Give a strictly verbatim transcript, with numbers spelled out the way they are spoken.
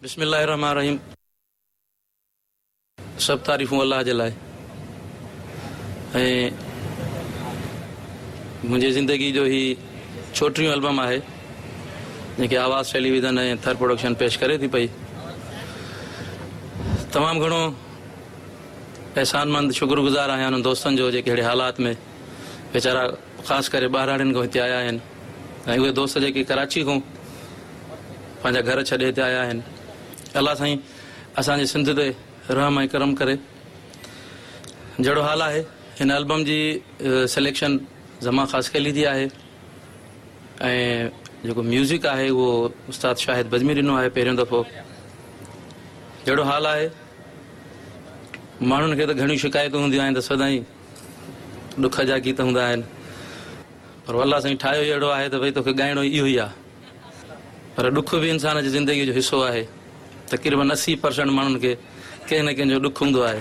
بسم الله الرحمن الرحيم. سڀ تعريفون الله جي لاءِ ۽ منهنجي زندگي جو هي چوٽيهون البم آهي جيڪي آواز ٽيليويزن ۽ ٿر پروڊڪشن پيش ڪري ٿي پئي. تمام گهڻو احسانمند شڪرگذار آهيان انهن دوستن جو جيڪي اهڙي حالات ۾ ويچارا خاص ڪري ٻاهراڙين کان هتي آيا آهن ۽ اهي دوست جيڪي ڪراچي کان پنهنجا گهر ڇڏي هتي آيا آهن. الله سائين اسان جي سنڌ تي رحم ۽ ڪرم ڪري. جهڙو حال آهي هن البم جي سليڪشن زما خاصخيلي جي آهي ۽ جيڪو ميوزڪ آهي اهو استاد شاهد بزمي ڏنو آهي پهريون دفعو. جهڙو حال آهي ماڻهن کي ته گهڻيون شڪايتون هونديون آهن ته سدائين ڏک جا گيت هوندا آهن، پر الله سائين ٺاهيو ئي اهڙو آهي ته ڀئي توکي ڳائڻو ئي اهو ئي آهي. پر ڏک به انسان جي زندگيءَ جو حصو آهي. تقريبن اسي پرسنٽ ماڻهن کي ڪنهن نه ڪنهن جو ڏک هوندو آهي.